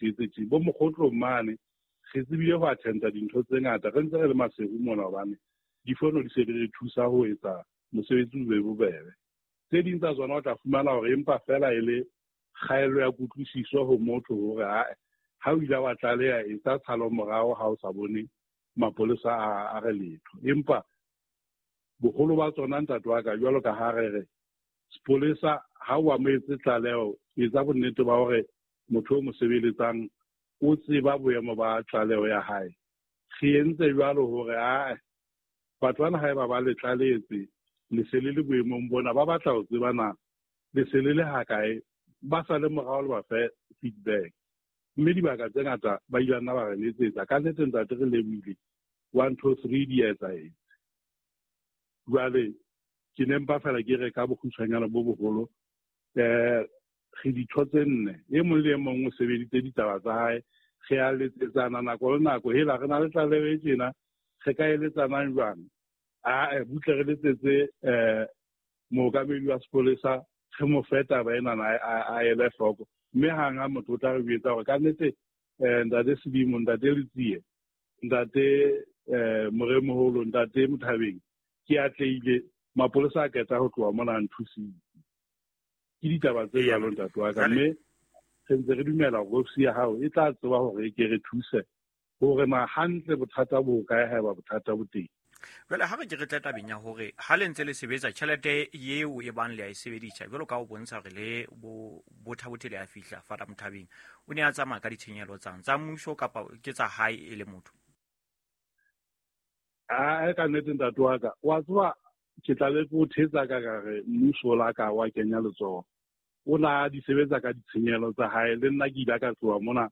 etse tje. Bo Mokgotlong mane re tsebile ho attenda dintho tse ngata re ntse re le Maseru mona, hobane difono di se di re thusa ho etsa mosebetsi o be bobebe. Tse ding tsa tsona o tla fumana hore empa fela e le kgaello ya kutlwisiso ho motho hore ha o ile wa tlaleha etsa tshalo morao ha o sa bone mapolesa a re letho. Empa boholo ba tsona ntate wa ka, jwalo ka ha re re sepolesa ha o amohetse tlaleho, etsa bonnete ba hore motho o mo sebeletsang o tseba boemo ba tlaleho ya hae. Re entse jwalo hore batho bana haeba ba le tlalehetse le se le le boemong bona, ba batla ho tseba na le se le le hakae, ba sa le morao le ba fe feedback. Mme dibaka tse ngata ba ile nna ba re letsetsa. Ka nnete ntate re lebohile, 1 2 3 di etsahetse. Jwale ke ne mpa fela ke re ka bokgutshwanyana bo boholo, re ditho tse nne, e mong le e mong o sebeditse ditaba tsa hae, re a letsetsana nako le nako, hela re na le tlaleho e tjena, re ka eletsanang jwang? Butle re letsetse mookamedi wa sepolesa, re mo fe taba enana a ele hloko. Mme hang ha motho o tla re jwetsa hore ka nnete ntate Sedimo, ntate Letsie, ntate Moremoholo, ntate Mothabeng, ke atlehile, mapolesa a qeta ho tloha mona a nthusitse. Ke ditaba tse jwalo ntate wa ka, mme re ntse re dumela hore ofisi ya hao e tla tseba hore e ke re thuse hore na hantle bothata bo kae haeba bothata bo teng. Jwale ha re ke re tle tabeng ya hore ha le ntse le sebetsa tjhelete eo e bang le a e sebedisa, jwalo ka ho bontsha hore le bothabothe le a fihla Father Mothabeng, o ne a tsamaya ka ditshenyehelo tsang tsa mmuso kapa ke tsa hae e le motho? Ka nnete ntate wa ka, wa tseba ke tla be ke o thetsa ka ka re mmuso la ka wa kenya letsoho. O na di sebetsa ka ditshenyehelo tsa hae, le nna ke ile ka tloha mona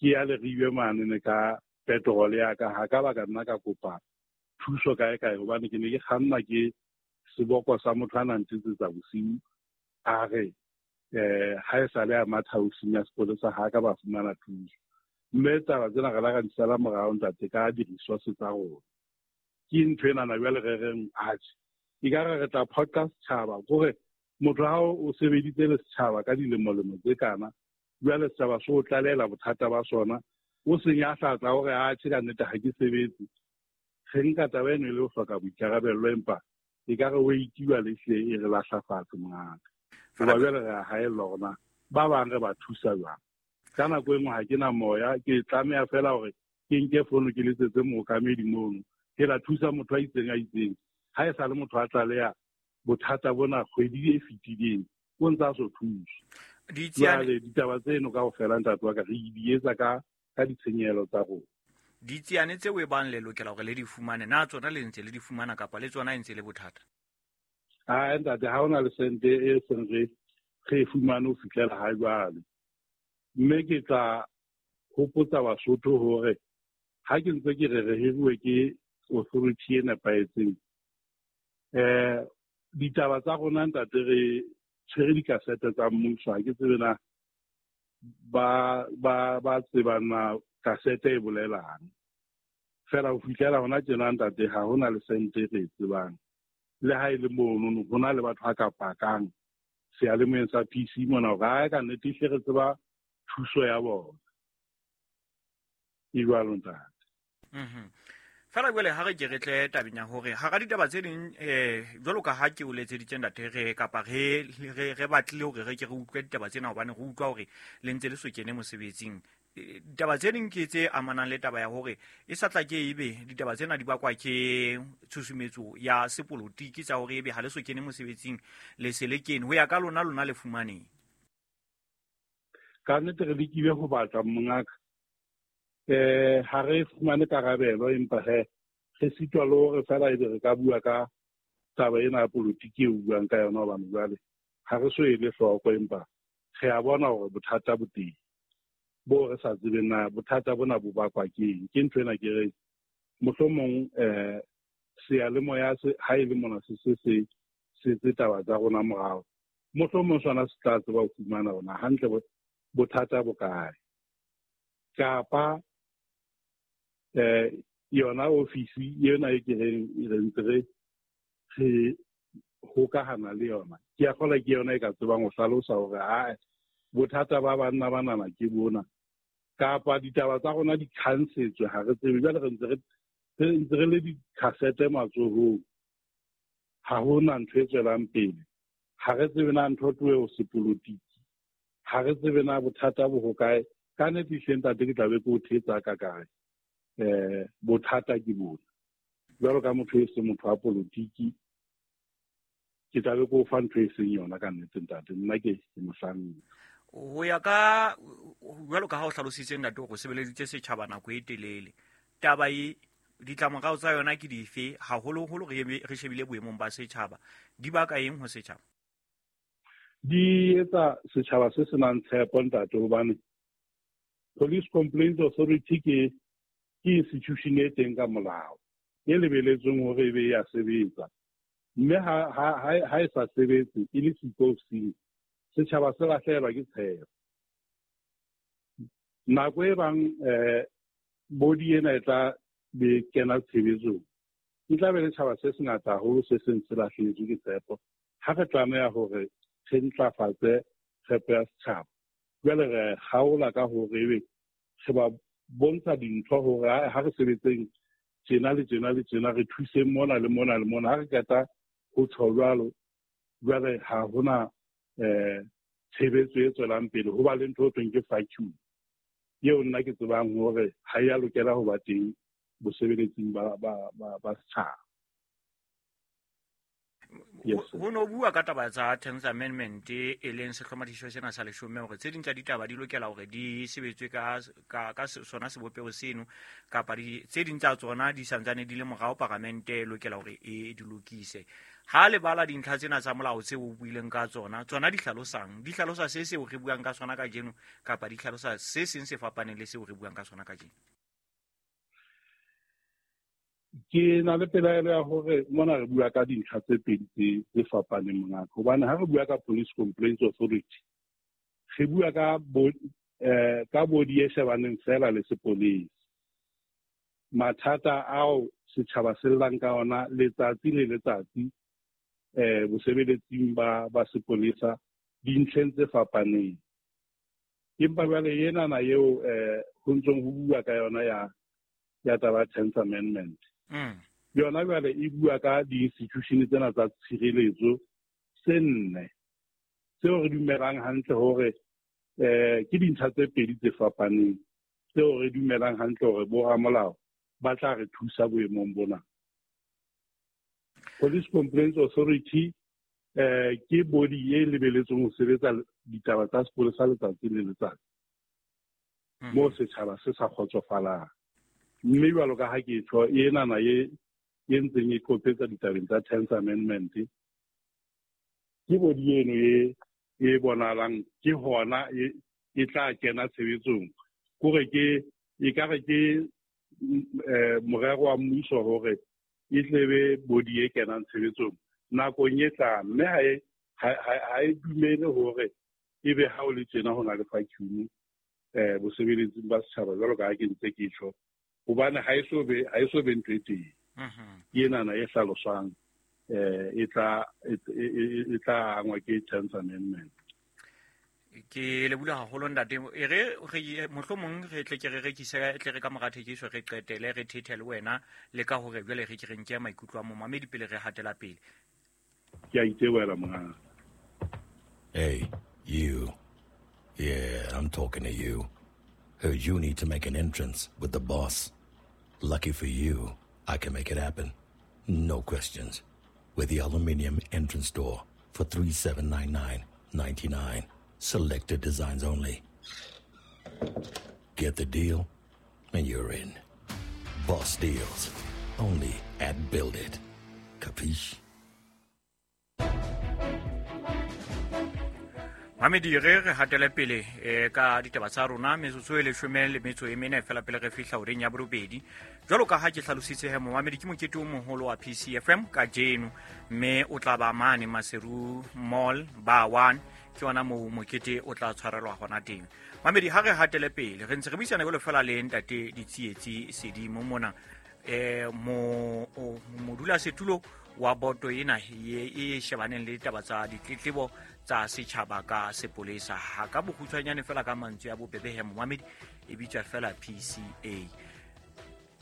ke ya Leribe mane ne ka petrol ya ka, ha ka ba ka nna ka kopa thuso kae kae, hobane ke ne ke kganna ke seboko sa motho a nang ntsetsetsa bosiu, a re ha e sale a matha ofising ya sepolesa ha ka ba fumana thuso. Mme taba tsena re la ra di sala morao ntate ka di-resource tsa rona. Ke ntho enana jwale re reng atjhe, ekare re tla phoqa setjhaba, kore motho ha o sebeditse le setjhaba ka dilemolemo tse kana, jwale setjhaba se o tlalehela bothata ba sona, o senya hlatla hore atjhe ka nnete ha ke sebetse. Re nka taba eno e le ho hloka boikarabello, empa ekare o itiwa le hle e re lahla fatshe mongaka. Hoba jwale re a haellwa hore na ba bang re ba thusa jwang. Ka nako e nngwe ha ke na moya, ke tlameha fela hore ke nke fono ke letsetse mookamedi mono, ke la thusa motho a itseng a itseng. Ha e sa le motho a tlaleha bothata bona kgwedi e fetileng, o ntse a so thuse. Jwale ditaba tseno kaofela ntate wa ka re di etsa ka ditshenyehelo tsa rona. Ditsiane tseo e bang le lokela hore le di fumane, na tsona le ntse le di fumana kapa le tsona e ntse le bothata? Ntate, ha hona le sente e seng re e fumane ho fihlela ha jwale. Mme ke tla hopotsa Basotho hore ha ke ntse ke re re hiruwe ke authority e nepahetseng, ditaba tsa rona ntate re tshwere dikasete tsa mmuso, ha ke tsebe na ba tseba na kasete e bolelang. Fela ho fihlela hona tjena ntate ha hona le sente re e tsebang. Le ha e le mono ho na le batho ba ka pakang seyalemoyeng sa PC mona hore ha ka nnete ehlile re tseba thuso ya bona. E jwalo ntate. Fela jwale ha re ke re tle tabeng ya hore hara ditaba tse ding, jwalo ka ha ke o letseditse ntate re kapa re batlile hore re ke re utlwe ditaba tsena, hobane re utlwa hore le ntse le so kene mosebetsing. Ditaba tse ding ke tse amanang le taba ya hore e sa tla ke ebe ditaba tsena di bakwa ke tshusumetso ya sepolotiki tsa hore ebe ha le so kene mosebetsing le se le kene. Ho ya ka lona, lona le fumaneng. Ka nnete re lekile ho batla mongaka. Ha re fumane karabelo, empa he re sitwa le hore fela ebe re ka bua ka taba ena ya politiki e buang ka yona, hobane jwale ha re so ele hloko, empa re a bona hore bothata bo teng bo re sa tsebeng na bothata bona bo bakwa ke eng. Ke ntho ena ke reng mohlomong seyalemoya se ha e le mona se se se setse taba tsa rona morao, mohlomong sona se tla tseba ho fumana hore hantle bothata bo kae, kapa yona ofisi ena e ke reng re ntse re hokahana le yona, ke a kgolwa ke yona e ka tsebang ho hlalosa hore bothata ba banna banana ke bona. Kapa ditaba tsa rona di khansetswe, ha re tsebe. Jwale re ntse re le dikhasete matsohong, ha hona ntho e tswelang pele. Ha re tsebe na ntho tlohe ho sepolotiki, ha re tsebe na bothata bo hokae. Ka nnete ehlile ntate ke tla be ke o thetsa ka kae. Bothata ke bona. Jwalo ka motho e seng motho wa politiki, ke tla be ke o fa ntho e seng yona ka nnete ntate. Nna ke mohlanka. Ho ya ka jwalo ka ha o hlalositse ntate hore o sebeleditse setjhaba nako e telele, taba e ditlamorao tsa yona ke dife, haholoholo re shebile boemong ba setjhaba, di baka eng ho setjhaba? Di etsa setjhaba se senang tshepo ntate, hobane Police Complaints Authority ke institution e teng ka molao e lebeletsweng hore e be ya sebetsa, mme ha e sa sebetse e le siko seng, setjhaba se lahlehelwa ke tshepo. Nako e bang body ena e tla be kena tshebetsong, e tla be le tjhaba se sengata haholo se seng se lahlehetswe ke tshepo. Ha re tlameha hore re ntlafatse tshepo ya setjhaba, jwale re kgaola ka hore ebe re ba bontsha dintho hore ha re sebetseng tjena le tjena le tjena, re thuseng mona le mona le mona. Ha re qeta ho tjho jwalo, jwale ha hona tshebetso e tswelang pele. Ho ba le ntho e thweng ke vacuum, eo nna ke tsebang hore ha ya lokela ho ba teng bosebeletsing ba setjhaba. Ho no bua ka taba tsa Tenth Amendment e leng sehlomathiso sena sa leshome, hore tse ding tsa ditaba di lokela hore di sebetswe ka sona sebopeho seno, kapa tse ding tsa tsona di santsane di le morao, paramente e lokela hore e di lokise. Ha le bala dintlha tsena tsa molao tseo o buileng ka tsona, tsona di hlalosang? Di hlalosa se seo re buang ka sona kajeno, kapa di hlalosa se seng se fapaneng le seo re buang ka sona kajeno? Ke na le pelaelo ya hore mona re bua ka dintlha tse pedi tse fapaneng mongaka, hobane ha re bua ka Police Complaints Authority, re bua ka body e shebaneng fela le sepolesa. Mathata ao setjhaba se llang ka ona letsatsi le letsatsi bosebeletsing ba sepolesa dintlheng tse fapaneng. Empa jwale enana eo ho ntsong ho bua ka yona ya taba Tenth Amendment. Yona jwale e bua ka di-institution tsena tsa tshireletso tse nne, tseo re dumelang hantle hore ke dintlha tse pedi tse fapaneng, tseo re dumelang hantle hore boramolao ba tla re thusa boemong bona. Police Complaints Authority ke body e lebeletsweng ho sebetsa ditaba tsa sepolesa letsatsi le letsatsi, moo setjhaba se sa kgotsofalang. Mme jwalo ka ha ke tjho, enana e ntseng e qopetsa ditabeng tsa Tenth Amendment, ke body eno e bonahalang ke hona e tla kena tshebetsong. Kore ke e ka re ke morero wa mmuso hore e tle be body e kenang tshebetsong nakong e tlang, mme ha e dumele hore ebe ha o le tjena ho na le vacuum bosebeletsing ba setjhaba jwalo ka ha ke ntse ke tjho, hobane ha e so be ntho e teng. Ke enana e hlaloswang e tla angwa ke Tenth Amendment. Ke le bula haholo ntate, e re mohlomong re tle ke re rekise, tle re ka mora thekiso re qetele re thethe le wena le ka hore jwale re ke re nke maikutlo a momamedi pele re hatela pele. Ke a itebohela mongaka. Hey, you. Yeah, I'm talking to you. Heard you need to make an entrance with the boss. Lucky for you, I can make it happen. No questions. With the aluminium entrance door for $3,799.99. Selected designs only. Get the deal, and you're in. Boss deals. Only at Build It. Capiche? Mamedi, re hatele pele ka ditaba tsa rona metsotso e 14 fela pele re fihla horeng ya borobedi. Jwalo ka ha ke hlalositse he momamedi, ke mokete o moholo wa PCFM kajeno, mme o tla ba mane Maseru Mall ba 1, ke yona moo mokete o tla tshwarelwa hona teng. Mamedi, ha re hatele pele re ntse re buisana jwalo fela le ntate Ditsietsi Sedimo mona, modulasetulo wa boto ena e shebaneng le ditaba tsa ditletlebo tsa setjhaba ka sepolesa. Ha ka bokgutshwanyane fela ka mantswe a bobebe he momamedi, E bitswa fela PCA.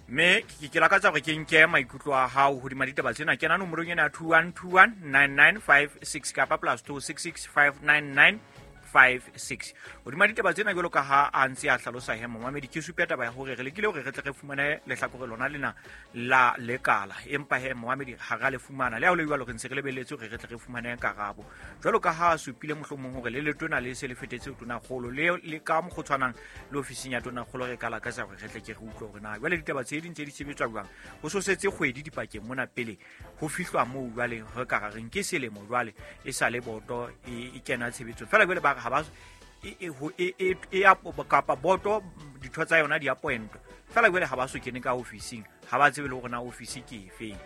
Mme ke lakatsa hore ke nke maikutlo a hao hodima ditaba tsena. Kena nomorong ena ya 21219956 kapa +26659956. Hodima ditaba tsena jwalo ka ha a ntse a hlalosa he momamedi, ke supe taba ya hore re lekile hore re tle re fumane lehlakore lona lena la lekala, empa he momamedi ha ra le fumana. Le ha ho le jwalo, re ntse re lebelletse hore re tle re fumane karabo jwalo ka ha a supile mohlomong hore le letona le se le fetetse ho tonakgolo, le ka mokgwa o tshwanang le ofising ya tonakgolo re ka lakatsa hore re tle ke re utlwe hore na jwale ditaba tse di ntse di sebetswa jwang. Ho so setse kgwedi dipakeng mona pele ho fihlwa moo jwale re ka ra reng ke selemo jwale e sa le boto e kena tshebetsong. Feela jwale ba re ha ba kapa boto ditho tsa yona di appointwa, feela jwale ha ba so kene ka ofising, ha ba tsebe le hore na ofisi ke efeng.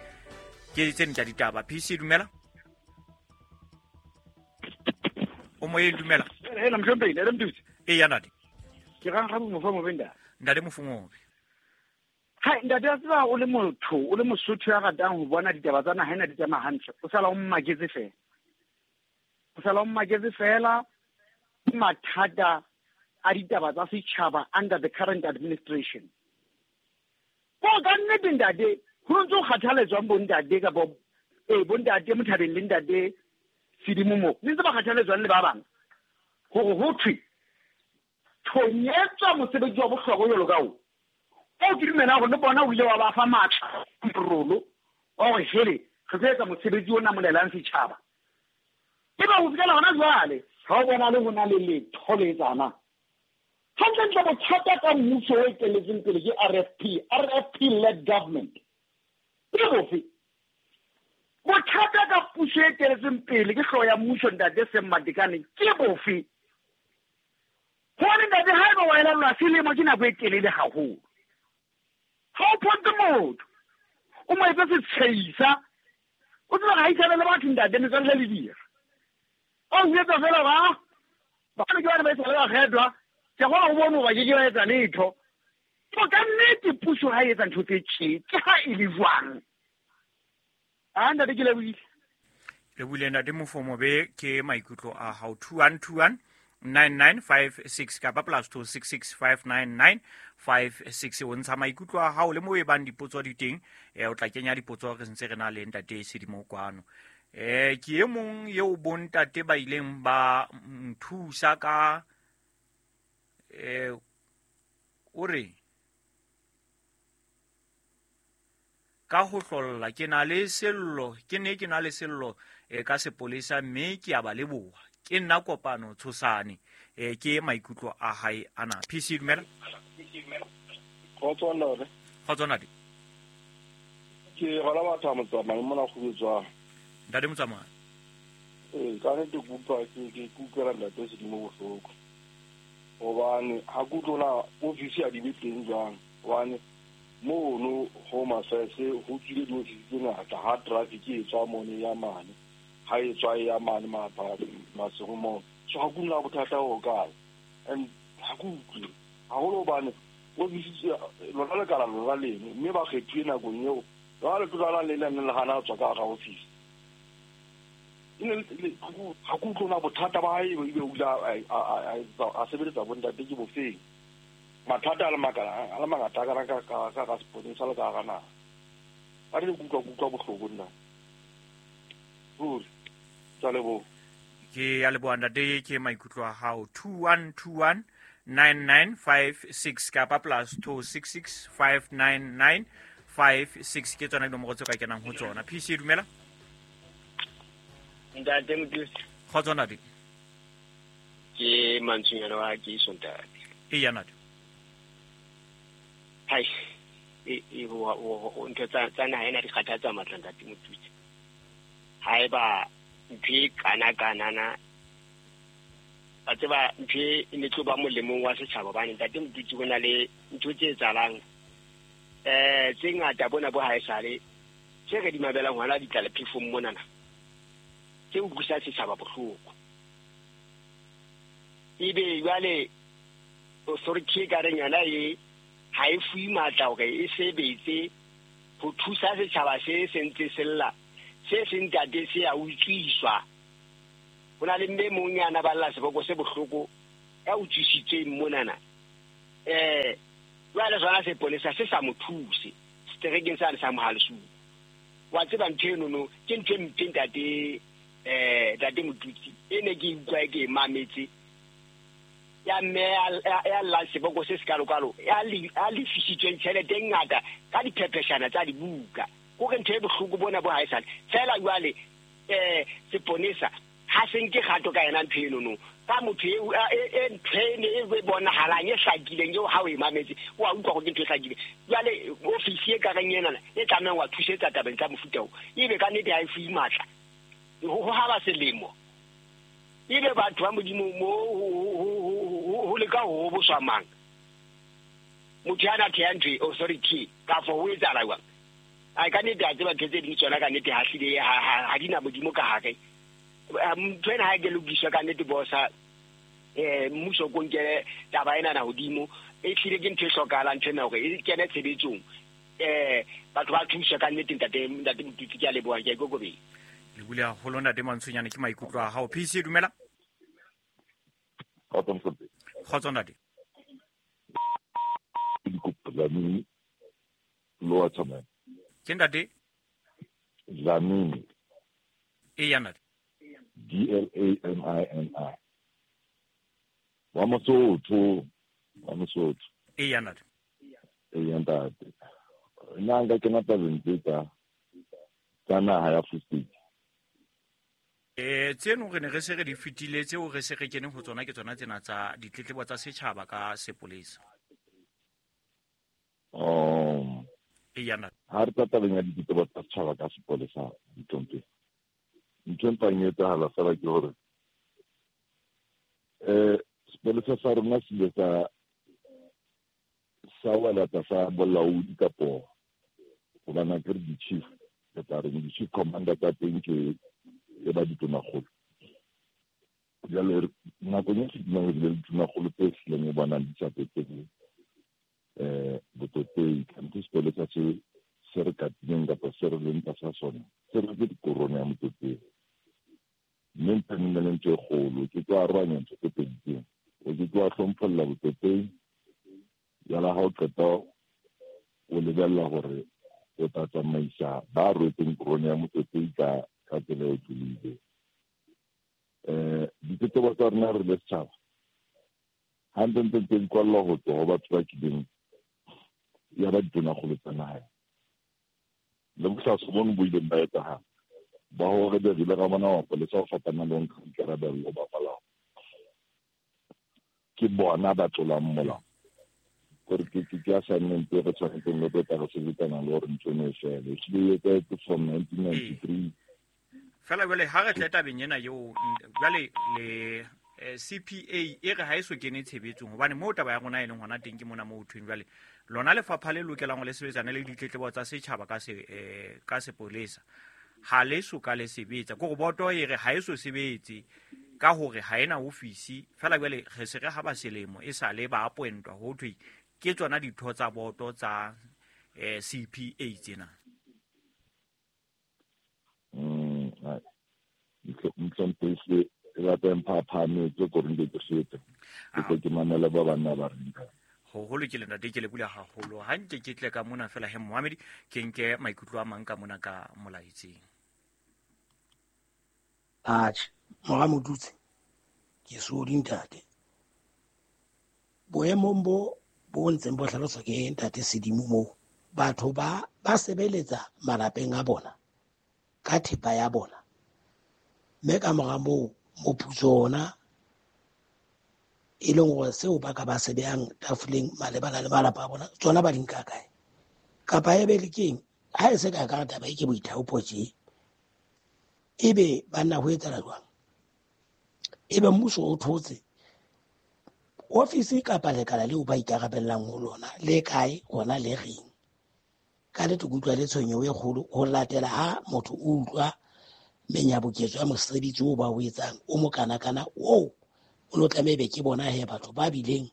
Ke tse ding tsa ditaba. PC dumela. O moyeng, dumela. Hela mhlomphehi, ntate Mtusi. Eya ntate. Ke rang ga Mofu Mobe ntate. Ntate Mofu Mobe. Hai ntate, a tseba o le motho, o le Mosotho ya ratang ho bona ditaba tsa naha ena di tsamaya hantle. O sala o mmaketse fela. O sala o mmaketse fela mathata a ditaba tsa setjhaba under the current administration. Ko ka nnete ntate, ho ntse ho kgathaletswang bo ntate kapa bo ntate Mothabeng le ntate Sedimo mo. Le ntse ba kgathaletswang le ba bang. Hore ho thwe thonyetswa mosebetsi wa bohlokwa jwalo ka o. O ke dumela hore le bona o ile wa ba fa matla rolo wa hore hele re tlo etsa mosebetsi o namolelang setjhaba. Ebe ho fihlela hona jwale ha o bona le ho na le letho le etsahalang. Hantlentle bothata ka mmuso o eteletseng pele ke RFP, RFP led government. Ke bofe? Bothata ka puso e eteletseng pele ke hlooho ya mmuso ntate Sam Matekane ke bofe? Hobane ntate haeba wa elellwa selemo ke nako e telele haholo. Ha o phonte motho, o mo etse setsheisa, o tseba ha isana le batho ntate metswalle le dira. O etsa fela ba bana ke bana ba isale ba kgethwa, ke kgona ho bona hoba ke ke ba etsa letho. Ko ka nnete puso ha e etsa ntho tse tje, ke ha e le jwang? A ntate ke lebohile. Lebohile ntate Mofu Mobe ke maikutlo a hao. 21219956 kapa +26659956. O ntsha maikutlo a hao le moo e bang dipotso di teng, o tla kenya dipotso re ntse re na le ntate Sedimo kwano. Ke e mong eo bontate ba ileng ba nthusa ka o re ka ho hlolla ke na le sello, ke ne ke na le sello ka sepolesa mme ke a ba leboha. Ke nna Kopano Tshosane. Ke maikutlo a hae ana. PC dumela. Kgotso ntate. Kgotso ntate. Ke gona batho ba Motsamai mona go bitswa. Ntate Motsamai. Ka nnete ke utlwa ke utlwela ntate Sedimo bohloko. Hobane ha ke utlwe na ofisi ya di be teng jwang. Hobane mono Home Affairs ho tswile diofisi tse ngata ha traffic e tswa mone ya mane. Ha e tswa ya mane Maseru mo. So ha ke utlwe bothata ho kae. And ha ke utlwe haholo hobane ofisi lona lekala lona leno mme ba kgethuwe nakong eo. Jwale tlo le le le hana tswa ka hara ofisi. Ha ke utlwe na bothata ba hae ebe o ile a sebeletsa bontate ke bofeng. Mathata a le mangata ka sepolesa le ka hara naha. A re ke utlwa bohloko nna. Ruri. Ke a leboha. Ke a leboha ntate, ke maikutlo a hao. 21219956 kapa +26659956 ke tsona dinomoro tse ka kenang ho tsona. PC dumela. Ntate Mtusi. Kgotso ntate. Ke mantswenyana wa ke ntate. Eya ntate. Hai, ntho tsa naha ena di kgathatsa matla ntate Mtusi. Haeba ntho e kana-kanana, ba tseba ntho e ne tlo ba molemong wa setjhaba hobane ntate Mtusi ho na le ntho tse etsahalang tse ngata bona bo haesale tse re di mabelang hona di tla le phefong monana. Tse utlwisa setjhaba bohloko. Ebe jwale authority e ka reng yona e ha e fuwe matla hore e sebetse ho thusa setjhaba se sentse sella se seng ntate se a utswiswa. Ho na le mme mong yana ba lla seboko se bohloko ya utswisitsweng monana. Jwale sona sepolesa se sa mo thuse seterekeng sane sa Mohalesuku. Wa tseba ntho enono ke ntho e mpe ntate, ntate Motutsi, e ne ke utlwa ke e mametse ya mme ya llang seboko se sekalokalo, ya lefisitsweng tjhelete e ngata ka diphepheshana tsa dibuka. Kore ntho e bohloko bona bo haesale. Feela jwale seponesa ha se nke kgato ka yena ntho enono. Ka motho e ntho ene e bonahalang e hlakileng eo ha o e mametse, o a utlwa hore ke ntho e hlakileng. Jwale ofisi e kareng enana e tlamehang wa thusetsa tabeng tsa mofuta oo, ebe ka nnete ha e fuwe matla. Ho haba selemo. Ebe batho ba Modimo mo ho leka ho hoboswa mang? Motho ya na theha ntho e, authority, kafo ho etsahala jwang? Ai, ka nnete a tseba ntho tse ding tsona ka nnete ha hlile ha di na Modimo ka hare. Ntho ena ha e ke lokiswa ka nnete bosa, mmuso ko nkele taba ena na hodimo, e hlile ke ntho e hlokahalang ntho ena hore e kene tshebetsong. Batho ba thuswe ka nnete ntate, ntate Motutsi, ke a leboha, ke a ikokobetsa. Le bule haholo ntate Mantshonyane ke maikutlo a hao. PC dumela. Kgotso Motutsi. Kgotso ntate. Dikopo Dlamini Lower Tsamaya. Ke ntate? Dlamini. E ya ntate. D L A M I N I. Wa Mosotho, wa Mosotho. E ya ntate. E ya ntate. Nna nka kena tabeng tse tsa naha ya Free State. Tseno re ne re se re di fetile, tseo re se re kene ho tsona ke tsona tsena tsa ditletlebo tsa setjhaba ka sepolesa. E ya ntate. Ha re tla tabeng ya ditletlebo tsa setjhaba ka sepolesa, ditlompe. Ntho e mpang e etsahala fela ke hore, sepolesa sa rona se ile sa wela tlasa bolaodi kapo hobane ke re di-chief, re tla reng di-chief commander tsa teng ke e ba ditonakgolo. Jwale nakong e fetileng re bile le ditonakgolo tse hlileng o bonang di sa tsotelle, botlotlei. Kante sepolesa se re katileng kapa se re leng tlasa sona, se rwetse dikorone ya motlotlei. Mme ntho e nngwe le ntho e kgolo, ke tlo arohanya ntho tse pedi tseo. O ke tlo hlompholla botlotlei, jwale ha o qeta o lebella hore o tla tsamaisa ba rwetseng korone ya motlotlei ka tsela e tlolile. Ditletlebo tsa rona re le setjhaba, ha ntse ntse ntse di kwallwa ho tswa ho batho ba kileng ya ba ditonakgolo tsa naha. Le bohlaswa bono bo ileng ba etsahala, ba hore be re ile ra bona mapolesa ho fapana le ho nka boikarabello ba molao. Ke bona ba tlolang molao. Kore ke assignment e re tshwanetseng le tlo tla re sebetsana le hore ntho eno e fele. Ehlile e etsahetse from 1993. Fela jwale ha re tle tabeng ena eo, jwale le CPA e re ha e so kene tshebetsong, hobane moo taba ya rona e leng hona teng ke mona moo ho thweng jwale lona lefapha le lokelang ho le sebetsana le ditletlebo tsa setjhaba ka sepolesa ha le so ka le sebetsa. Kore boto e re ha e so sebetse ka hore ha ena ofisi. Fela jwale re se re ha ba selemo e sa le ba appointwa ho thwe ke tsona ditho tsa boto tsa CPA tsena. Ntlomphese e batla e mphaphame, ke kore nke ke fete. Ke tlo ke mamele ba banna ba reng ka. Ho lokile ntate, ke lebohile haholo. Ha nke ke tle ka mona fela he Mohamedi, ke nke maikutlo a mang ka mona ka molaetseng. Atjhe, mora Motutsi, ke sodi ntate. Boemong bo ntseng bo hlaloswa ke ntate Sedimo moo, batho ba sebeletsa malapeng a bona ka thepa ya bona. Mme ka mora moo moputso ona e leng hore seo ba ka ba se behang tafoleng malebana le malapa a bona, tsona ba di nka kae? Kapa e be le keng? Ha e se ka ka taba e ke boithaopo tje, ebe banna ho etsahala jwang? Ebe mmuso o thotse ofisi kapa lekala leo ba ikarabellang ho lona le kae, hona le reng? Ka nnete ke utlwa le tshwenyeho e kgolo ho latela ha motho o utlwa menyabuketso ya mosebetsi oo ba o etsang o mokanakana oo o no tlameha ebe ke bona he batho ba bileng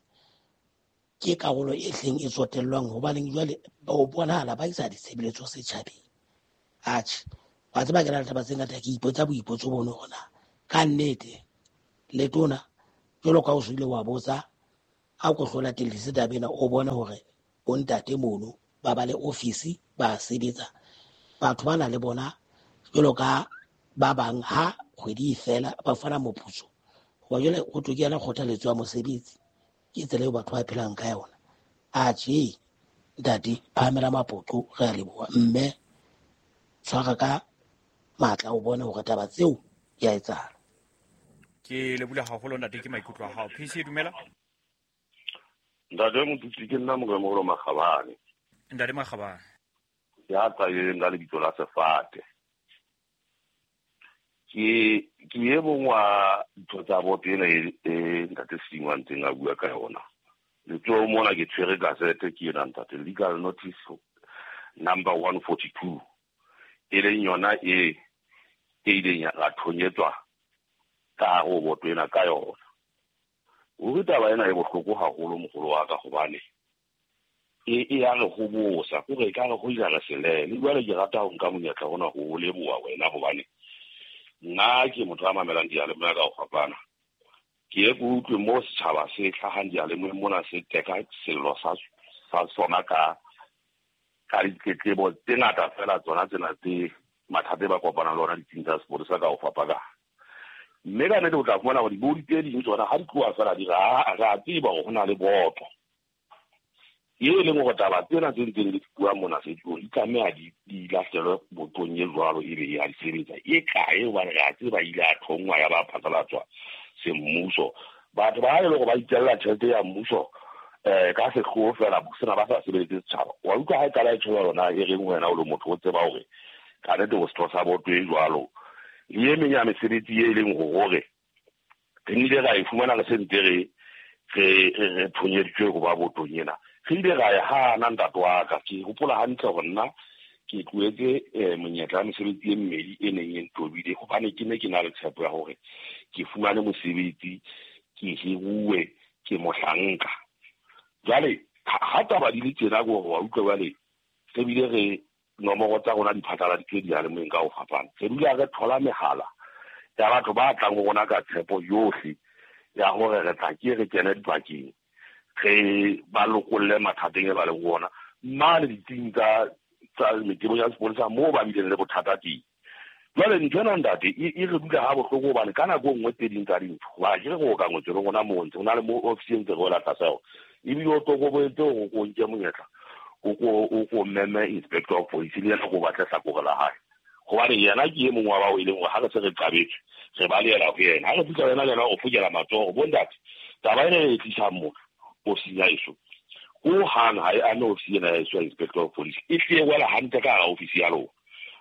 ke karolo e hleng e tsotellwang, hobaneng jwale ba o bonahala ba isa ditshebeletso setjhabeng. Atjhe, wa tseba ke na le taba tse ngata, ke ipotsa boipotso bono hona ka nnete letona jwalo ka o se ile wa botsa A ko hlo latellise taba ena, o bone hore bontate mono ba ba le ofisi ba sebetsa. Batho bana le bona jwalo ka ba bang ha kgwedi e fela ba fana moputso. Hoba jwale ho thwe ke yona kgothaletso ya mosebetsi, ke tsela eo batho ba phelang ka yona. Atjhe ntate, phahamela mapoqo, re a leboha. Mme tshwara ka matla o bone hore taba tseo di a etsahala. Ke lebohile haholo ntate, ke maikutlo a hao. PC dumela. Ntate Motutsi, ke nna Moremogolo Makgabane. Ntate Makgabane. Ya tswaleng ka lebitso la Sefate. Ke e mong wa ditho tsa boto ena e ntate Sedimo a ntseng a bua ka yona. Letsoho mona ke tshwere gazette ke ena ntate, legal notice number 142, e leng yona e ileng ya thonyetswa ka hare ho boto ena ka yona. Ruri taba ena e bohloko haholo moholo wa ka, hobane e ya re hobosa, kore e ka re hoja re selele. Jwale ke rata ho nka monyetla ona ho leboha wena, hobane nna ke motho a mamelang diyalemoya ka ho fapana. Ke ye ke utlwe mo setjhaba se hlahang diyalemoyeng mona se teka sello sa sona ka ditletlebo tse ngata fela, tsona tsena tse mathata e ba kopanang le ona ditsing tsa sepolesa ka ho fapana. Mme ka nnete o tla fumana hore dibodi tse ding tsona ha di tloha fela di re a tseba hore ho na le boto e leng hore taba tsena tse ntseng di bua mona setulong di tlameha di lahlelwe botong e jwalo, ebe e a di sebetsa. E kae? Hobane re a tseba ile a thongwa ya ba phatlalatswa semmuso. Batho ba e leng hore ba itjella tjhelete ya mmuso ka sehloho fela, sena ba sa sebeletse setjhaba. Wa utlwa ha e qala e tjho yona e reng wena o le motho o tseba hore ka nnete o setho sa boto e jwalo. Le e meng ya mesebetsi e leng hore re nnile ra e fumana re se ntse re thonyeditswe ho ba botong ena. Re ile ra e hana ntate wa ka. Ke hopola hantle hore nna ke tlohetse monyetla wa mesebetsi e mmedi e neng e ntobile, hobane ke ne ke na le tshepo ya hore ke fumane mosebetsi, ke hiruwe, ke mohlanka. Jwale ha taba di le tjena ke hore wa utlwa jwale re bile re nomoro tsa rona di phatlaladitswe diyalemoyeng ka ho fapana. Re dula re thola mehala ya batho ba tlang ho rona ka tshepo yohle ya hore re tla ke re kene dipakeng, re ba lokolle mathateng e ba leng ho ona mane ditsing tsa metebo ya sepolesa moo ba bileng le bothata teng. Jwale ntho ena ntate e re dula ha bohloko, hobane ka nako e nngwe tse ding tsa dintho wa ke re go ka ngotswe le rona moo ntse ho na le mo ofisi e ntse re wela tlasa yona, ebile o tokobetse hore o nke monyetla o ko meme inspector of police le yena ko batle hlakore la hae, hobane yena ke e mong wa bao e leng hore ha re se re qabetswe re balehela ho yena. Ha re fihla yena le yena o fokela matsoho, bo ntate taba ena e tlisang motho ofising ya heso ho hang ha e ame ofisi ena ya heso ya inspector of police, e tle e wela hantle ka hara ofisi ya lona.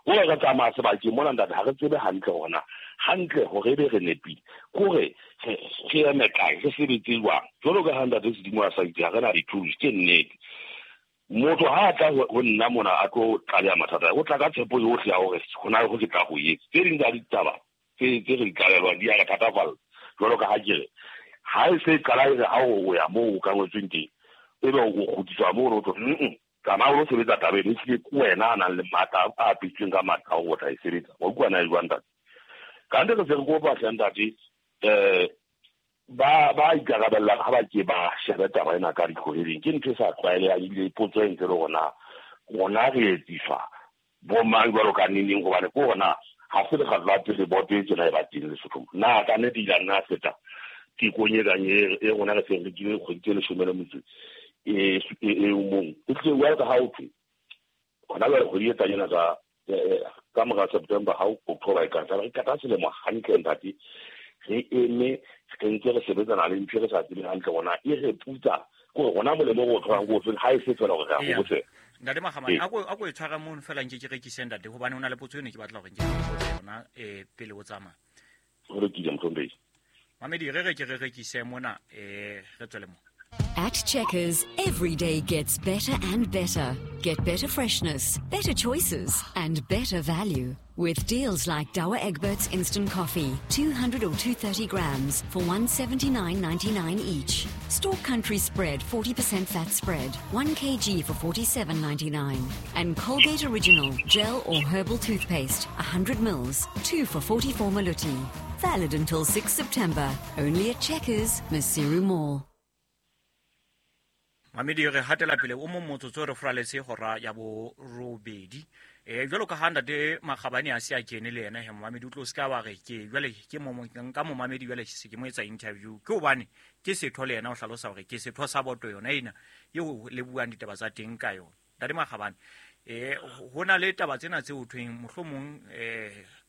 Hore re tsamaya sebakeng mona ntate ha re tsebe hantle hore na hantle hore ebe re nepile, kore re eme kae, re sebetse jwang. Jwalo ka ha ntate Sedimo a sa itse ha re na di-tools, ke nnete. Motho ha a tla ho nna mona a tlo tlaleha mathata, o tla ka tshepo yohle ya hore ho na le ho ke tla ho etsa. Tse ding tsa ditaba tse re di tlalelwang di a re thatafalla. Jwalo ka ha ke re ha e se qala e re ha o ya moo o ka ngotsweng teng, ebe o kgutliswa moo o tlo tsamaya o lo sebetsa taba eno, ehlile ke wena a nang le matla a apesitsweng ka matla a hore o tla e sebetsa. Wa utlwa na e jwang ntate? Kante re se re kopa hle ntate, ba ikarabellang ha ba ke ba shebe taba ena ka ditlhoheleng. Ke ntho e sa tlwaelehang ebile potso e ntse le hore na rona re etsiswa bo mang jwalo ka neneng, hobane ke hore na ha se lekgetlo la pele boto e tjena e ba teng Lesothong. Na ka nnete ile a nna a feta tekong e kang e rona re seng re kile kgwedi tse 18 e mong. E tlile jwalo ka ha ho thwe hona jwale kgwedi e tlang ena ka mora September ha October e ka tla re qeta selemo hantle ntate, re eme re ntse re sebetsana le ntho e re sa tsebeng hantle hore na e re putsa kore rona molemo o tholang ko ofeng, ha e se fela hore re a hobosela. Ntate Makgabane, a ko e tshwara mono fela nke ke rekise ntate, hobane ho na le potso eno ke batla hore nke ke botse yona pele o tsamaya. Ho lokile mohlomphehi. Mamedi, re re ke re rekise mona, re tswele mo. At Checkers, every day gets better and better. Get better freshness, better choices, and better value. With deals like Douwe Egberts Instant Coffee, 200 or 230 grams for 179.99 each. Stork Country Spread, 40% fat spread, 1 kg for 47.99. And Colgate Original, gel or herbal toothpaste, 100 mils, 2 for 44 maluti. Valid until 6 September. Only at Checkers, Maseru Mall. Mamedi re hatela pele o mong motsotso re furaletse hora ya borobedi. Jwalo ka ha ntate Makgabane a se a kene le yena he momamedi o tlo se ka wa re ke jwale ke nka momamedi jwale se ke mo etsa interview, ke hobane ke setho le yena o hlalosa hore ke setho sa boto yona ena eo le buang ditaba tsa teng ka yona. Ntate Makgabane, ho na le taba tsena tse ho thweng mohlomong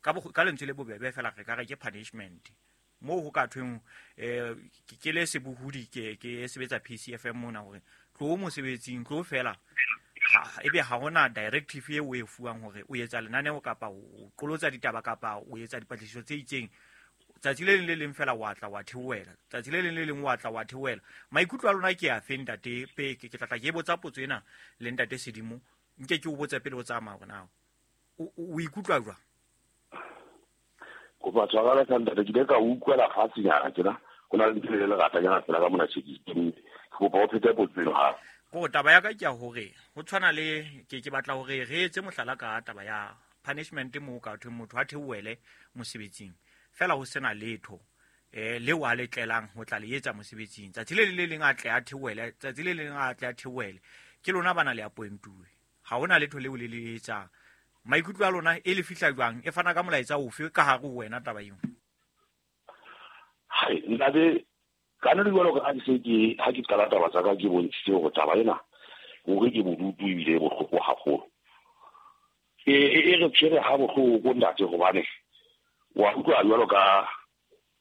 ka lentswe le bobebe fela re ka re ke punishment moo ho ka thweng ke le sebohodi ke sebetsa PCFM mona hore tlo mosebetsing tlo fela ebe ha hona directive e o e fuwang hore o etsa lenaneo kapa o qolotsa ditaba kapa o etsa dipatlisiso tse itseng. Tsatsi le leng le leng fela wa tla wa theohela, tsatsi le leng le leng wa tla wa theohela. Maikutlo a lona ke a fe ntate? Pe ke tla tla ke botsa potso ena le ntate Sedimo, nke ke o botse pele o tsamaya hore na o ikutlwa jwang? Kopa tshwarelo ka ntate, ke ile ka utlwela fatshenyana tjena, ho na le ntho e leratanyana fela ka mona tjhekisiteng. Ke kopa o phete potso eno hape. Ko taba ya ka ke ya hore ho tshwana le ke batla hore re etse mohlala ka taba ya punishment moo ka thweng motho a theohele mosebetsing fela ho sena letho leo a le tlelang ho tla le etsa mosebetsing. Tsatsi le le leng a tle a theohele, tsatsi le leng a tle a theohele. Ke lona bana le appointuwe, ha hona letho leo le le etsang. Maikutlo a lona e le fihla jwang? E fana ka molaetsa ofe ka hare ho wena taba eo? Hai, ntate, ka nna jwalo ka ha ke se ke ha ke qala taba tsa ka ke bontshitse hore taba ena hore ke bodutu ebile e bohloko haholo. E re tshwere ha bohloko ntate, hobane wa utlwa jwalo ka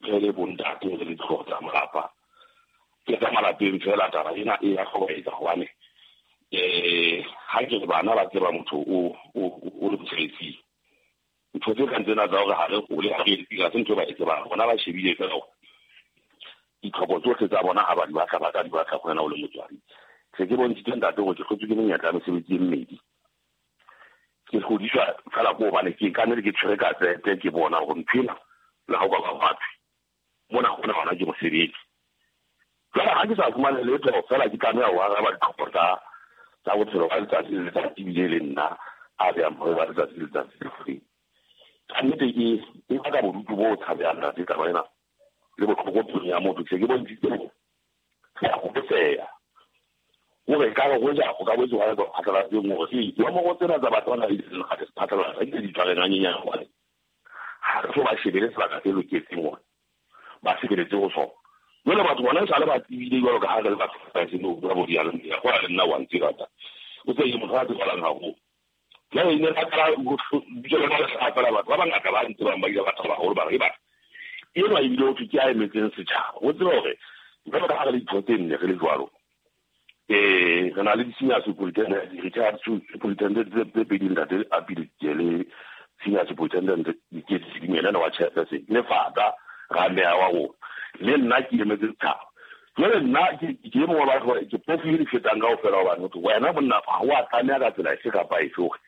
re le bontate re le dihlooho tsa malapa. Ke tsa malapeng fela taba ena e ya hlobaetsa hobane ha ke re bana ba tseba motho o le mosebetsing. Ntho tse kang tsena tsa hore ha re hole, ha re etse, ha se ntho e ba e tsebang. Bona ba shebile fela hore ditlhoko tsohle tsa bona ha ba di batla, ba ka di batla ho wena o le motswadi. Se ke bontshitse ntate hore ke hlotswe ke menyetla ya mesebetsi e mmedi. Ke hlodiswa fela ko hobane ke ka nnete ke tshwere ka tsete, ke bona hore ntho ena le ha o ka ba batho mona hona hona ke mosebetsi. Jwale ha ke sa fumane letho fela ke tlameha ho araba ditlhoko tsa bophelo ba letsatsi le letsatsi ebile le nna a behang bophelo ba letsatsi le letsatsi le free. Ka nnete e baka bodutu bo tshabehang ntate taba ena le bohloko pelong ya motho. Se ke bontshitse hore ke a hopotseha hore ekare hoja ho ka boetse hwa etswa phatlalatseng hore ee, dinomoro tsena tsa batho ba nang le di phatlalatsa di di tshwareng hanyenyane hobane ha re so ba shebele sebaka se loketseng hore ba sebeletse ho sona. Jwale batho bona esale ba tsebile jwalo ka ha re le batho ba se no bua bo diyalemoya, go ya le nna wa ntseba ta. O tse motho a tsebalang haholo. Jwale e ne ba qala ho bitso le ba fela batho ba bangata ba ntsebang ba ile ba thaba haholo ba re ba enwa ebile ho thwe ke a emetseng setjhaba. O tsebe hore jwalo ka ha re le ditho tse nne re le jwalo, re na le di-senior superintendent, di-retired superintendent tse pedi ntate a pele ke le senior superintendent Diketsi Sedimo, yena wa chairperson le fata ra meya wa rona. Le nna ke emetse setjhaba. Jwale nna ke e mong wa batho ke phofu e di fetang kaofela hobane ho thwe wena monna ha o a tlameha ka tsela efe kapa efe hore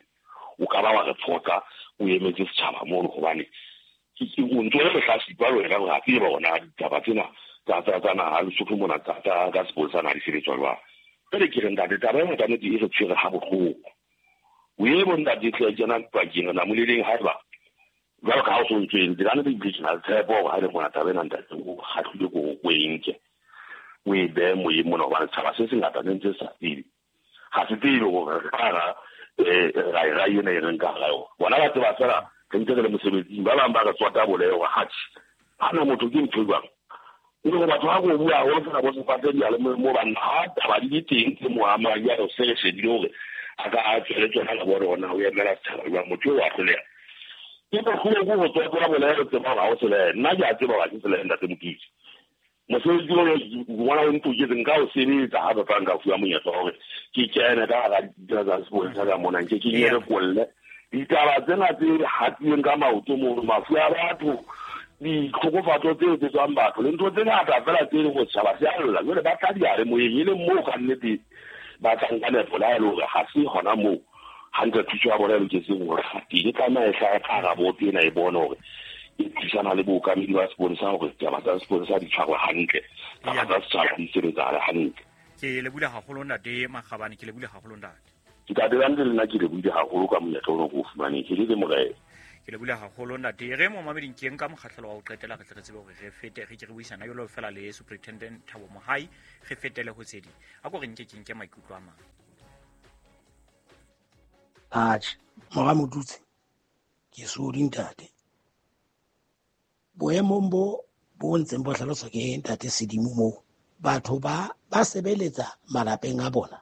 o ka ba wa re phoqa o emetse setjhaba mono, hobane o ntso le lehlatsipa le wena hore ha tseba hore na ditaba tsena tsa naha Lesotho mona tsa sepolesa na di sebetswa jwang. Jwale ke re ntate, taba ena ka nnete e re tshwere ha bohloko. O e bo ntate tle kena pakeng re namoleleng haeba jwalo ka ha o so ntso entse, ka nnete ebile ke na le tshepo hore ha e le mona taba ena ntate o kgahlile ko o e nke o e behe moyeng mona, hobane setjhaba se sengata se ntse se sa tsebe. Ha se tsebe hore re ka hara rai ena e reng ka hara yona. Bona ba tseba fela re ntse re le mosebetsing, ba bang ba re tswata boleho hore atjhe, hana motho ke ntho e jwang. E le hore batho ha ko bua haholo fela bo sefate diyalemoyeng moo banna ha taba di le teng tse mo amang, jwale se re shebile hore a ka a tswele tsona ka bone hore na o emela setjhaba jwang, motho eo wa hloleha. Ke bohloko ho tswatela boleho, tseba hore ha o selehe. Nna ke a tseba hore ha ke selehe ntate Moketsi. Mosebetsi ono ngwana o ntoketse nka o sebetsa ha tota nka fuwa monyetla wa hore ke kene ka hara ditaba tsa sepolesa ka mona, nke ke nyere kolle. Ditaba tsena tse hatileng ka maoto mono, mafu a batho, ditlhokofatso tse etsetswang batho le ntho tse ngata fela tse leng hore setjhaba se a lla. Jwale ba tla diyalemoyeng e leng moo ka nnete ba tlang ka nepo le ha e le hore ha se hona moo hantle thuso ya bona e loketseng hore teng. E tlameha e hlahe ka hara boto ena e bone hore e thusana le bookamedi ba sepolesa hore ditaba tsa sepolesa di tshwarwe hantle, taba tsa setjhaba di sebetsahale hantle. Ke lebohile haholo ntate Makgabane, ke lebohile haholo ntate. Ntate ka nnete le nna ke lebohile haholo ka monyetla ono ke o fumaneng. Ke le morena. Ke lebohile haholo ntate. Re mo mameding ke nka mokgahlelo wa ho qetela re tle re tsebe hore re fete re ke re buisana jalo fela le Superintendent Thabo Mohai, re fetele ho tse ding. A ko re nke ke nke maikutlo a mang. Atjhe, mora Motutsi, ke sodi ntate. Boemong bo ntseng bo hlaloswa ke ntate Sedimo moo, batho ba sebeletsa malapeng a bona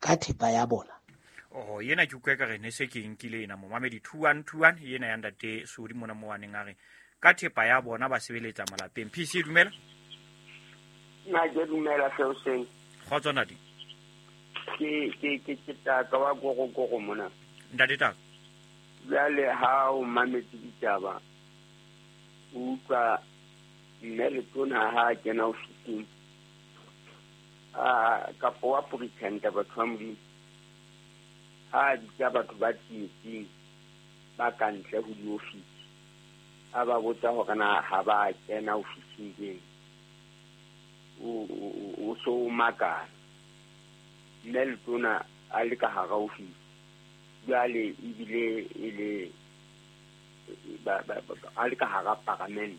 ka thepa ya bona. Oh, yena ke utlwa ekare ne se ke nkile ena momamedi 2121 yena ya ntate Sodi mona mo waneng a re ka thepa ya bona ba sebeletsa malapeng. PC dumela. Nna ke dumela seo seng. Kgotso ntate. Ke taka wa gorogoro mona. Ntate taka. Jwale ha o mametse ditaba o utlwa mme letona ha kena ofising a kapo wa pretender batho ba Modimo ha bitsa batho ba tsietsing ba ka ntle ho diofisi a ba botsa hore na ha ba kena ofising keng, o so makala. Mme letona a le ka hara ofisi jwale ebile e le a le ka hara paramente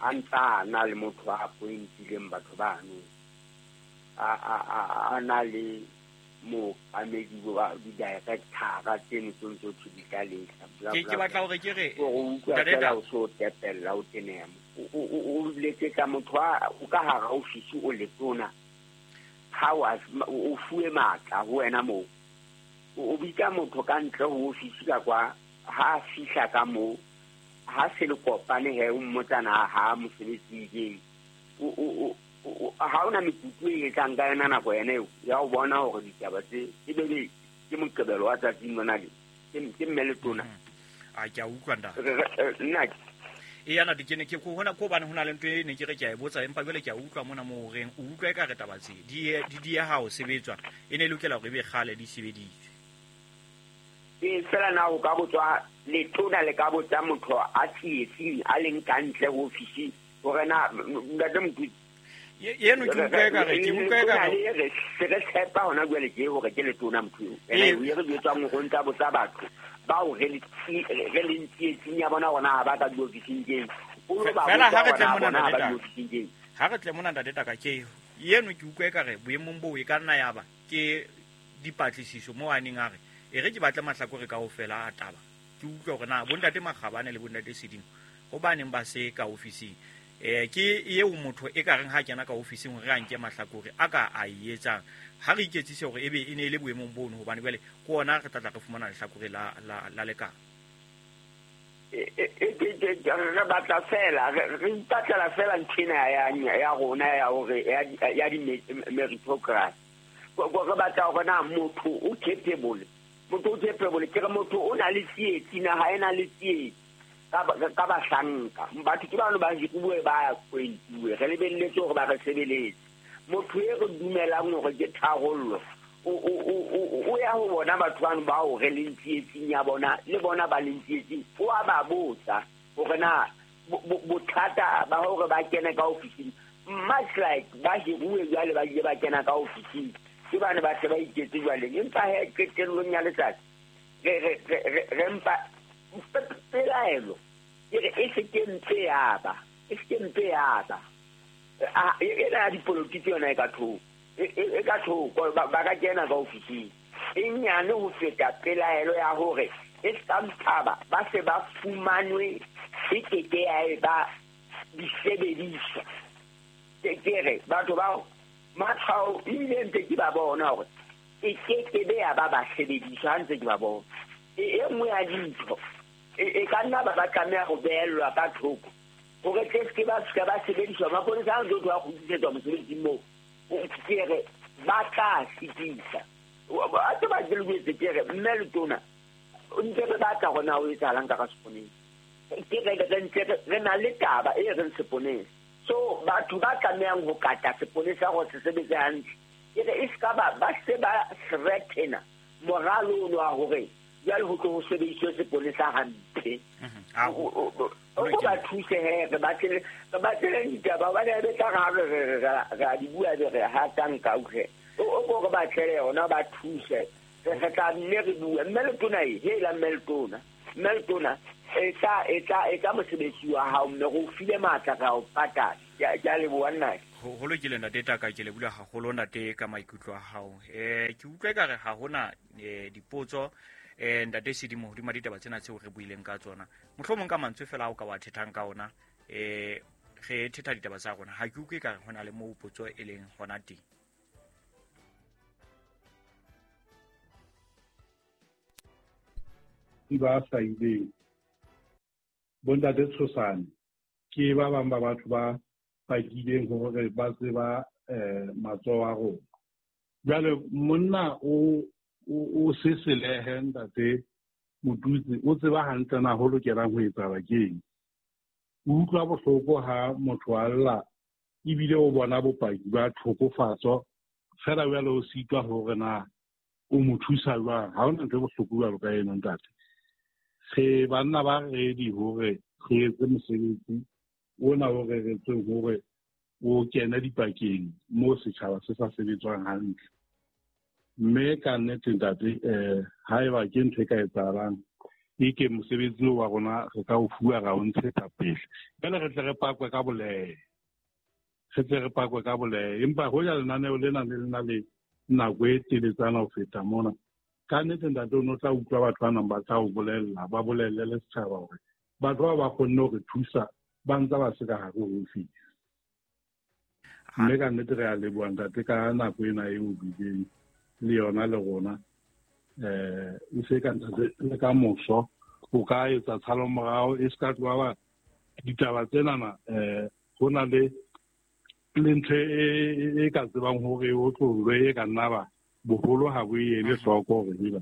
a ntsa na le motho a appointileng batho bano a na le mookamedi wa di-director-a tseno tse ntse thwe di tla lehla. Ke batla hore ke re o utlwa fela o so tepella o teneha. O letsetsa motho o ka hara ofisi o letona ha o fuwe matla ho wena moo. O bitsa motho ka ntle ho ofisi ka kwa ha fihla ka moo ha se le kopane he o mmotsana ha mosebetsi keng. Ha ona mekutu e etsang ka yona nako yena eo ya ho bona hore ditaba tse e be ke moqebelo wa tsatsing lona le ke mme letona. A ke a utlwa ntate. Nna e yana ke ne ke hona ko bane hona le ntho e ne ke re ke a e botsa empa jwale ke a utlwa mona mo reng o utlwa e ka re taba tse di dieha ho sebetswa e ne lokela hore e be kgale di sebeditswe. E fela na o ka botswa letona le ka botsa motho a tsietsing a leng ka ntle ho ofisi hore na ntate Motutsi yeno ke utlwa ekare ke utlwa ekare re se re tshepa hona jwale ke hore ke letona motho eo. Ene e re jwetsang hore ntsa botsa batho bao re le tsietsing ya bona hona ha ba ka diofising keng. Fela ha re tle mona ntate, ha re tle mona ntate taka ke yeno ke utlwa ekare boemong boo e ka nna ya ba ke dipatlisiso mo a neng a re e re ke batle mahlakore kaofela a taba. Ke utlwa hore na bontate Makgabane le bontate Sedimo hobaneng ba se ka ofising. Ke eo motho e ka reng ha kena ka ofising hore a nke mahlakore a ka a etsang ha re iketsise hore ebe e ne e le boemong bono hobane jwale ke ona re tla re fumana lehlakore la lekala. Re batla fela re ipatlela fela nthena ya rona ya hore ya di-meritocracy. Re batla hore na motho o capable, motho o capable ke re motho o na le tsietsi na ha ena le tsietsi ka bahlanka. Batho ke bano ba hiruwe ba appointuwe re lebelletse hore ba re sebeletse. Motho e re dumelang hore ke tharollo o ya ho bona batho bano bao re leng tsietsing ya bona le bona ba leng tsietsing o a ba botsa hore na bothata ba hore ba kene ka ofising much like ba hiruwe jwale ba ile ba kena ka ofising ke bane ba se ba iketse jwale. Empa he qetellong ya letsatsi re mpa pelaelo ke re e se ke mpe ya ba e se ke mpe ya ba ena ya dipolotiki yona e ka thoko e ka thoko ba ka kena ka ofising e nyane ho feta pelaelo ya hore e ska mphaba ba se ba fumanwe e keke ya e ba disebediswa. Ke re batho bao matshwao ebile ntse ke ba bona hore e keke be ya ba ba sebediswa ha ntse ke ba bona. E nngwe ya dintho e ka nna ba tlameha ho behellwa ka thoko hore tle se ba se ba sebediswa. Maponesa a ntse a kgutlisetswa mosebetsing moo ke re ba tla sitisa. A tse ba ke ke re mme letona ntse re batla hona ho etsahalang ka seponeng. Ke re re ntse re na le taba e reng seponeng. So batho ba tlamehang ho kata seponesa hore se sebetse hantle ke re e ska ba se ba threatena moralo ono wa hore jwale ho tlo ho sebediswe seponesa hampe. O ba thuse he re batlele ditaba hobane be tla ra di bua be re hatang ka utlwe. O ko re batlele yona ba thuse re tla nne re bue. Mme letona e hela mme letona Mme Letona etsa mosebetsi wa hao, mme re o file matla, re a o patala. Ke a leboha nnake. Ho lokile ntate Taka, ke lebohile haholo ntate ka maikutlo a hao. Ke utlwa ekare ha hona dipotso ntate Sedimo hodima ditaba tsena tseo re buileng ka tsona. Mohlomong ka mantswe fela ao ka wa thethang ka ona, re thetha ditaba tsa rona. Ha ke utlwe ekare hona le moo potso e leng hona teng. Ba hlahileng bontate Tshosane ke ba bang ba batho ba pakileng hore ba tseba matsoho a rona. Jwale monna o seselehe ntate Motutsi, o tseba hantle na ho lokelang ho etsahala keng. O utlwa bohloko ha motho a lla ebile o bona bopaki ba tlhokofatso fela jwale o sitwa hore na o mo thusa jwang. Ha hona ntho e bohloko jwalo ka eno ntate. Re banna ba ready hore re etse mosebetsi ona o reretsweng hore o kene dipakeng moo setjhaba se sa sebetswang hantle. Mme ka nnete ntate, haeba ke ntho e ka etsahalang, e ke mosebetsi wa rona re ka o fuwa ra o ntshetsa pele. Jwale re tle re pakwe ka bolehe. Re tle re pakwe ka bolehe. Empa hoja lenaneo lena le lena le nako e teletsana ho feta mona, ka nnete ntate o no tla utlwa batho ba nang ba tla o bolella, ba bolelle le setjhaba hore batho bao ba kgonne ho re thusa ba ntse ba se ka hare ho ofisi. Mme ka nnete re a leboha ntate ka nako ena eo bileng le yona le rona. E se ka ntate le ka moso o ka etsa tshalomorao e se ka tloha ba ditaba tsenana, ho na le ntho e ka tsebang hore o tlollwe e ka nna ba boholo ha bo e ele hloko hore eba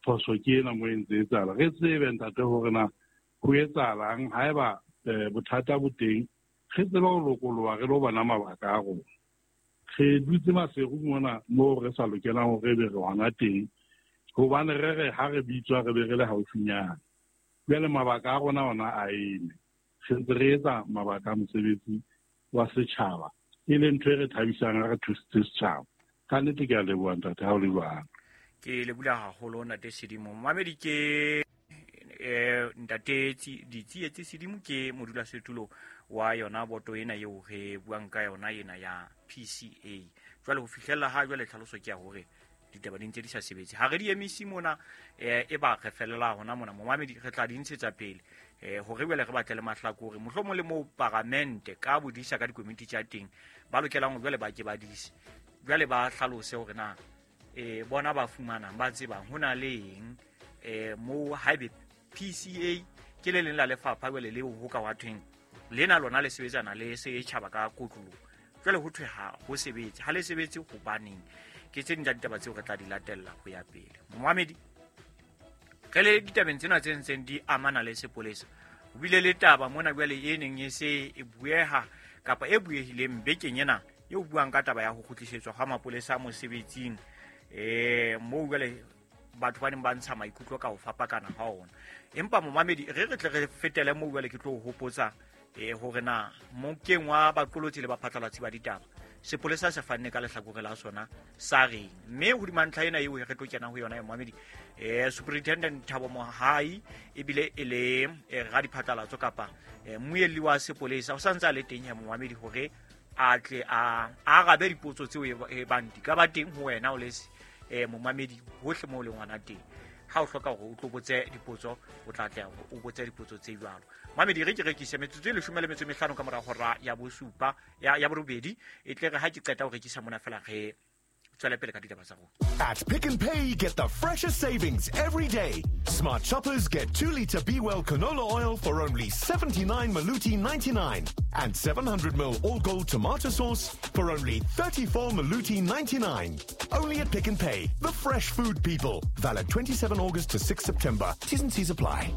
phoso ke ena mo e ntse etsahala. Re tsebe ntate hore na ho etsahalang haeba bothata bo teng, re tsebe ho lokoloha re lo bona mabaka a rona. Re dutse Maseru mona moo re sa lokelang hore be re hona teng, hobane re re ha re bitswa re be re le haufinyana. Jwale mabaka a rona ona a eme. Re ntse re etsa mabaka a mosebetsi wa setjhaba, e leng ntho e re thabisang ha re thusitse setjhaba. Ka nnete ke a leboha ntate ha o le jwalo. Ke leboha haholo ntate Sedimo. Momamedi ke ntate Ditsietsi Sedimo, ke modulasetulo wa yona boto ena eo re buang ka yona ena ya PCA. Jwale ho fihlella ha jwale tlhaloso ke ya hore ditaba di ntse di sa sebetse. Ha re di emise mona, e ba re felela hona mona. Momamedi re tla di ntshetsa pele hore jwale re batle le mahlakore, mohlomong le moo paramente ka bodisa ka dikomiti tsa teng ba lokelang jwale ba ke ba dise, jwale ba hlalose hore na bona ba fumanang ba tsebang ho na le eng moo haebe PCA ke le leng la lefapha jwale leo ho ka wa thweng lena lona le sebetsana le setjhaba ka kotloloho. Jwale ho thwe ha ho sebetse, ha le sebetse hobaneng? Ke tse ding tsa ditaba tseo re tla di latella ho ya pele. Momamedi, re le ditabeng tsena tse ntseng di amana le sepolesa, ho bile le taba mona jwale e neng e se e bueha kapa e buehileng bekeng ena e buang ka taba ya ho kgutlisetswa ha mapolesa mosebetsing, moo jwale batho ba neng ba ntsha maikutlo ka ho fapakana ha ona. Empa momamedi, re tle re fetele moo jwale ke tlo hopotsa hore na mokeng wa baqolotsi le baphatlalatsi ba ditaba sepolesa se fanne ka lehlakore la sona sa reng. Mme hodima ntlha ena eo re tlo kena ho yona ya momamedi, Superintendent Thabo Mohai ebile e le radiphatlalatso kapa mmuelli wa sepolesa o sa ntse a le teng ya momamedi hore a tle a arabe dipotso tseo e bang di ka ba teng ho wena o le momamedi hohle moo o leng hona teng. Ha o hloka hore o tlo botse dipotso, o tla tla o botse dipotso tse jwalo. Mamedi, re ke rekise metsotso e 15 ka mora hora ya bosupa ya borobedi, e tle re ha ke qeta ho rekisa mona fela re tswele pele ka ditaba tsa rona. At Pick n Pay, get the freshest savings every day. Smart shoppers get 2-liter Be-Well canola oil for only 79 Maluti 99 and 700 ml All Gold tomato sauce for only 34 Maluti 99. Only at Pick n Pay, the fresh food people. Valid 27 August to 6 September. T's and C's apply.